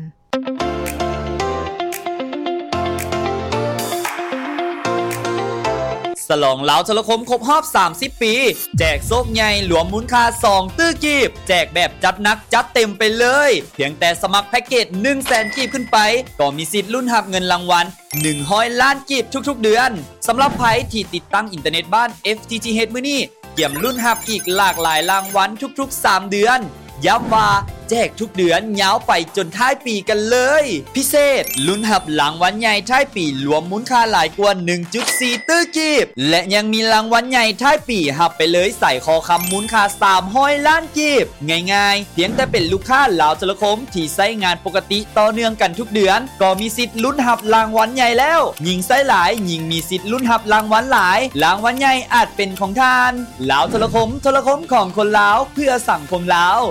ສະຫຼອງລາວໂທລະຄົມຄົບຮອບສາມສິບປີ ແຈກໂຊກໃຫຍ່ລວມມູນຄ່າສອງຕື້ກີບ, ແຈກແບບຈັດໜັກຈັດເຕັມໄປເລີຍ. ພຽງແຕ່ສະໝັກແພັກເກດໜຶ່ງແສນກີບຂຶ້ນໄປ ກໍມີສິດລຸ້ນຮັບເງິນລາງວັນ ໜຶ່ງຮ້ອຍລ້ານກີບທຸກໆເດືອນ. ສຳລັບໃຜທີ່ຕິດຕັ້ງອິນເຕີເນັດບ້ານ ເອັຟທີທີເອັດ ມື້ນີ້ ກຽມລຸ້ນຮັບອີກຫຼາກຫຼາຍລາງວັນທຸກໆສາມເດືອນ. ຢ້ຳວ່າແຈກທຸກເດືອນຍາວໄປຈົນທ້າຍປີກັນເລີຍ. ພິເສດ, ລຸ້ນຮັບລາງວັນໃຫຍ່ທ້າຍປີລວມມູນຄ່າຫຼາຍກວ່າໜຶ່ງຈຸດສີ່ຕື້ກີບ ແລະ ຍັງມີລາງວັນໃຫຍ່ທ້າຍປີຮັບໄປເລີຍສາຍຄໍຄຳມູນຄ່າສາມຮ້ອຍລ້ານ ກີບ. ງ່າຍໆ, ພຽງແຕ່ເປັນລູກຄ້າລາວໂທລະຄົມທີ່ໃຊ້ງານປົກກະຕິຕໍ່ເນື່ອງກັນທຸກເດືອນ ກໍມີສິດລຸ້ນຮັບລາງວັນໃຫຍ່ແລ້ວ. ຍິ່ງໃຊ້ຫຼາຍ, ຍິ່ງມີສິດລຸ້ນຮັບລາງວັນຫຼາຍ. ລາງວັນໃຫຍ່ອາດເປັນຂອງທ່ານ. ລາວໂທລະຄົມ, ໂທລະຄົມຂອງຄົນລາວ, ເພື່ອສັງຄົມລາວ.